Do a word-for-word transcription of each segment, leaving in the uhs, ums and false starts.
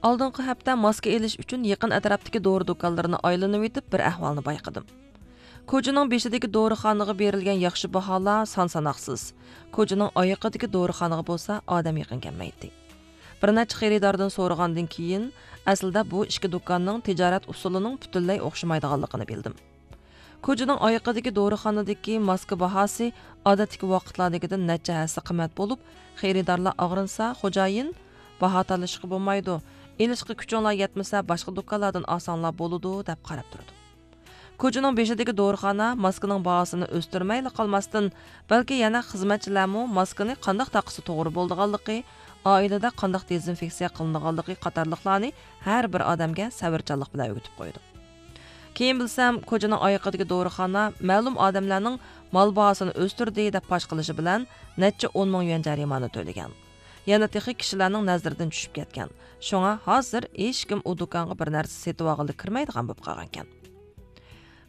ئالدىنقى ھەپتە ماسكا ئېلىش ئۈچۈن يېقىن ئەتراپتىكى دورا دۇكانلىرىنى ئايلىنىۋېتىپ، بىر ئەھۋالنى بايقىدىم. كوچىنىڭ بېشىدىكى دورىخانىغا بېرىلگەن ياخشى باھالار سان-ساناقسىز. كوچىنىڭ ئايىقىدىكى دورىخانىغا بولسا ئادەم يېقىن كەلمەيتتى. بىر نەچچە خېرىداردىن سورىغاندىن كېيىن، ئەسلىدە بۇ ئىككى دۇكاننىڭ تىجارەت ئۇسۇلىنىڭ پۈتۈنلەي ئوخشىمايدىغانلىقىنى بىلدىم. كوچىنىڭ ئايىقىدىكى دورىخانىدىكى ماسكا باھاسى ئادەتتىكى ۋاقىتلاردىكىدىن نەچچە ھەسسە قىممەت بولۇپ، خېرىدارلار ئاغرىنسا، خوجايىن، «باھا تالىشىشقا بولمايدۇ، ئېلىشقا كۈچۈڭلار يەتمىسە، باشقا دۇكانلاردىن ئالساڭلار بولىدۇ» دەپ قاراپ تۇرىدۇ. كوچىنىڭ بېشىدىكى دورىخانا ماسكىنىڭ باھاسىنى ئۆستۈرمەيلا قالماستىن، بەلكى يەنە خىزمەتچىلەرمۇ ماسكىنى قانداق تاقىسا توغرا بولىدىغانلىقى، ئائىلىدە قانداق دېزىنفېكسىيە قىلىنىدىغانلىقى قاتارلىقلارنى ھەر بىر ئادەمگە سەۋرچانلىق بىلەن ئۆگىتىپ قويىدۇ. كېيىن بىلسەم، كوچىنىڭ ئايىقىدىكى دورىخانا مەلۇم ئادەملەرنىڭ مال باھاسىنى ئۆستۈردى دەپ پاش قىلىشى بىلەن نەچچە ئون مىڭ يۈەن جەرىمانە تۆلىگەن. يەنە تېخى كىشىلەرنىڭ نەزىرىدىن چۈشۈپ كەتكەن. شۇڭا ھازىر ھېچكىم ئۇ دۇكانغا بىر نەرسە سېتىۋالغىلى كىرمەيدىغان بولۇپ قالغانىكەن.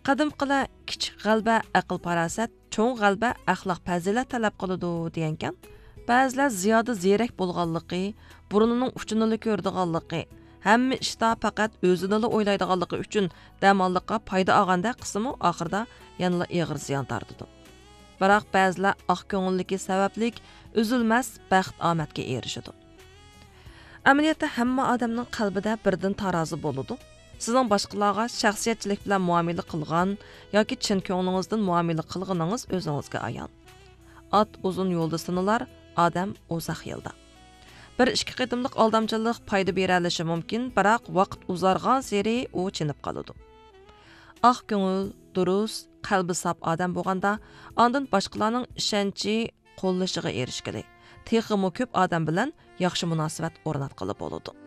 قەدىمكىلەر «كىچىك غەلىبە ئەقىل-پاراسەت، چوڭ غەلىبە ئەخلاق-پەزىلەت تەلەپ قىلىدۇ» دېگەنكەن. بەزىلەر زىيادە زېرەك بولغانلىقى، بۇرنىنىڭ ئۇچىنىلا كۆرىدىغانلىقى، ھەممە ئىشتا پەقەت ئۆزىنىلا ئويلايدىغانلىقى ئۈچۈن دەماللىققا پايدا ئالغاندەك قىلسىمۇ، ئاخىرىدا يەنىلا ئېغىر زىيان تارتىدۇ. بىراق بەزىلەر ئاق كۆڭۈللۈكى سەۋەبلىك ئۈزۈلمەس بەخت-ئامەتكە ئېرىشىدۇ. ئەمەلىيەتتە ھەممە ئادەمنىڭ قەلبىدە بىردىن تارازا بولىدۇ. سىزنىڭ باشقىلارغا شەخسىيەتچىلىك بىلەن مۇئامىلە قىلغان ياكى چىن كۆڭلىڭىزدىن مۇئامىلە قىلغىنىڭىز ئۆزىڭىزگە ئايان. ئات ئۇزۇن يولدا سىنىلار، ئادەم ئۇزاق يىلدا. بىر ئىككى قېتىملىق ئالدامچىلىق پايدا بېرەلىشى مۇمكىن، بىراق ۋاقىت ئۇزارغانسېرى ئۇ چېنىپ قالىدۇ. ئاق كۆڭۈل، دۇرۇس، قەلبى ساپ ئادەم بولغاندا، ئاندىن باشقىلارنىڭ ئىشەنچى، قوللىشىغا ئېرىشكىلى، تېخىمۇ كۆپ ئادەم بىلەن ياخشى مۇناسىۋەت ئورناتقىلى بولىدۇ.